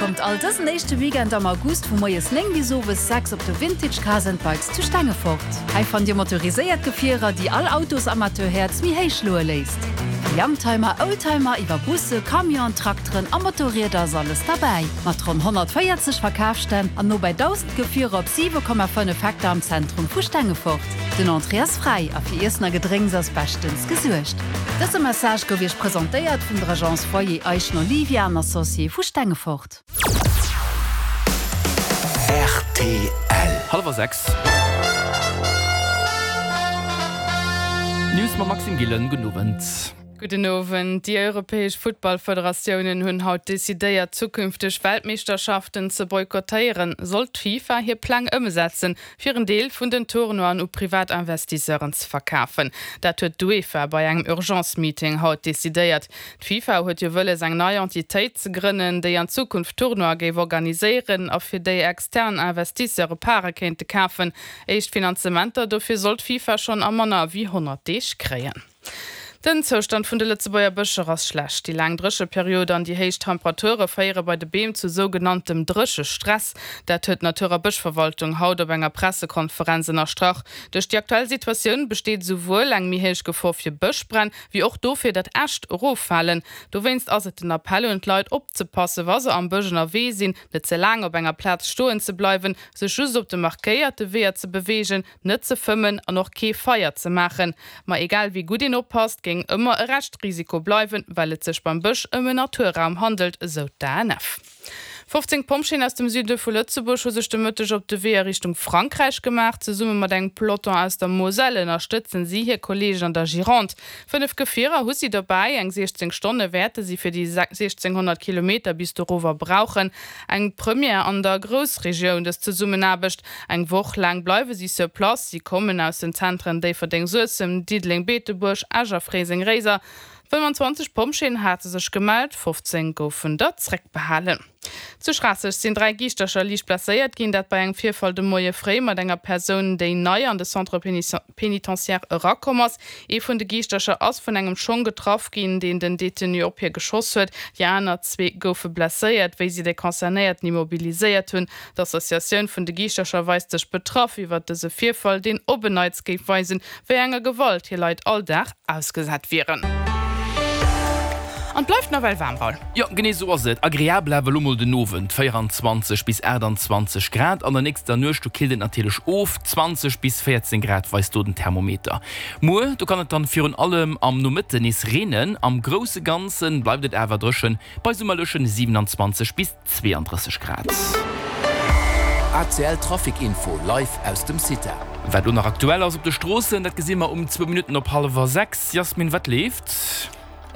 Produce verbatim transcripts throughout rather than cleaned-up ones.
Kommt all dësen éischte Weekend am August vu moies néng bis owes sechs op de Vintage Cars and Bikes zu Stengefort. Hei fannt Dir motoriséiert Gefierer, déi all Autosamateur-Häerz méi héich schloe léisst. Vu Youngtimer, Oldtimer iwwer Busse, Camion, Trakteren a Motorrieder ass alles derbäi. Mat ronn honnertvéierzeg Verkafsstänn an no bei dausend Gefierer op siwe Komma fënnef Hektar am Zentrum vu Stengefort. Den Entrée ass fräi a fir Iessen a Gedrénks ass beschtens gesuergt. Dëse Message gouf Iech presentéiert vun der Agence Foyer Eischen Olivia an Associés vu Stengefort. Rtl. Hallwer sechs. D'News mam Maxime Gillen. Gudden Owend. Gudden Owend. Déi europäesch Futtballfederatiounen hunn haut decidéiert, zukünfteg Weltmeeschterschaften ze boykottéieren, sollt d'FIFA hir Pläng ëmsetzen, fir en Deel vun den Tournoien u privat Investisseuren ze verkafen. Dat huet d'UEFA bei engem Urgence-Meeting haut decidéiert. D'FIFA huet jo wëlles, eng nei Entitéit ze grënnen, déi an Zukunft Tournoie géif organiséieren a fir déi extern Investisseure Pare kéinte kafen. Éischt Finanzementer dofir soll d'FIFA schonn a manner wéi honnert Deeg kréien. Den Zoustand vun de Lëtzebuerger Bëscher ass schlecht. Déi laang Drécheperiod an déi héich Temperature féiere bei de Beem zu sougenanntem Dréchestress. Dat huet d'Natur a Bëschverwaltung haut op enger Pressekonferenz ënnerstrach. Duerch déi aktuell Situatioun besteet esouwuel eng méi héich Gefor fir Bëschbränn, wéi och dofir, datt Äscht eroffalen. Dowéinst ass et den Appell un d'Leit, opzepassen, wa se am Bësch ënnerwee sinn, net ze laang op enger Plaz stoen ze bleiwen, sech just op de markéierte Weeër ze beweegen, net ze fëmmen an och kee Feier ze maachen. Ma egal wéi gutt een oppasst, géing ëmmer e Reschtrisiko bleiwen, well et sech beim Bësch ëm en Naturraum handelt, esou d'ANF. Fofzéng Pompjeeën aus dem Süde vu Lëtzebuerg hu sech de Mëtteg op de Wee a Richtung Frankräich gemaach. Zesumme mat engem Peloton aus der Moselle ënnerstëtzen si hir Kolleegen an der Gironde. Fënnef Gefierer hu si dobäi. Eng siechzéng Stonne wäerte si fir déi siechzénghonnert Kilometer bis dorower brauchen. Eng Première an der Groussregioun, dës Zesummenaarbecht. Eng Woch laang bleiwe si sur place. Si kommen aus den Zentren Déifferdeng-Suessem, Diddeleng-Beetebuerg, Esch a Fréiseng-Réiser. fënnwanzwanzeg Pompjeeën hate sech gemellt, fofzéng goufen der zréckbehalen. Zu Schraasseg sinn dräi Giischtercher liicht blesséiert ginn, dat bei engem Virfall de Moie fréi mat enger Persoun, déi nei an de Centre pénitentiaire erakomm ass. Ee vun de Giischtercher ass vun engem Schong getraff ginn, deen den Detenu op hie geschoss huet. Déi aner zwee goufe blesséiert, wéi si de Concernéierten immobiliséiert hunn. D'Associatioun vun de Giischtercher weist sech betraff iwwert dëse Virfall, deen op en Neits géif weisen, wéi enger Gewalt hir Leit all Dag ausgesat wieren. An et bleift nawell waarm, Raoul. Jo, genee esou ass et. Agreabel awer elo mol den Owend, véieranzwanzeg bis aachtanzwanzeg Grad. An der nächster Nuecht, do killt et natierlech of, zwanzeg bis véierzéng Grad weist do den Thermometer. Muer, do kann et dann virun allem am Nomëtten nees reenen. Am grousse Ganze bleift et awer dréchen, bei summerlechen siewenanzwanzeg bis zweeandrësseg Grad. A C L Trafic Info live aus dem CITA. Wat elo nach aktuell ass op de Stroossen, dat gesi mer um zwou Minutten op hallwer sechs. Jasmin, wat leeft?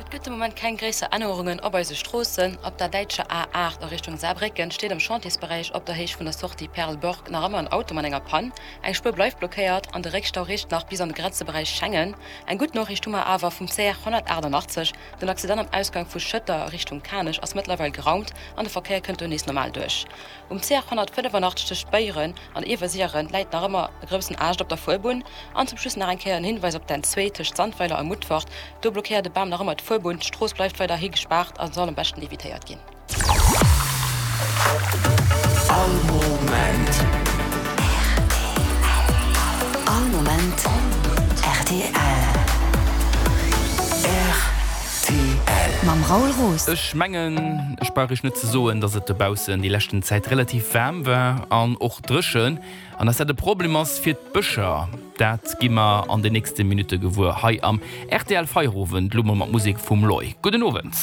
Et gëtt de Moment keng gréisser Ännerungen op eise Stroossen. Op der däitscher A aacht a Richtung Saarbrécken steet am Chantiersberäich op der Héicht vun der Sortie Perleberg nach ëmmer en Auto mat enger Pann. Eng Spuer bleift blockéiert an de Réckstau reecht nach bis an de Grenzeberäich Schengen. Eng gutt Noriicht hu mer awer vum C R honnertaachtanachtzeg, Den Accident am Ausgang vu Schëtter a Richtung Kanech ass mëttlerweil geraumt an de Verkéier kënnt do nees normal duerch. Um C R honnertfënnefanachteg tëscht Beyren an Iewersiren läit nach ëmmer e groussen Aascht op der Fuerbunn. An zum Schluss nach eng Kéier en Hinweis op d'N zwee tëscht Sandweiler a Mutfert, Do blockéiert e Bam nach ëmmer d'Fuerbunn. D'Strooss bleift weiderhi gespaart a soll am beschten evitéiert ginn. All Moment. All Moment rtl. Rtl. Mam Raoul Roos. Ech mengen, ech brauch iech net ze soen, dass et dobaussen déi leschten Zäit relativ waarm war an och dréchen. An dass dat e Problem ass fir d'Bëscher, dat gi mer an den nächste Minutte gewuer hei am R T L Feierowend, lo mol mat Musek vum Loy. Gudden Owend.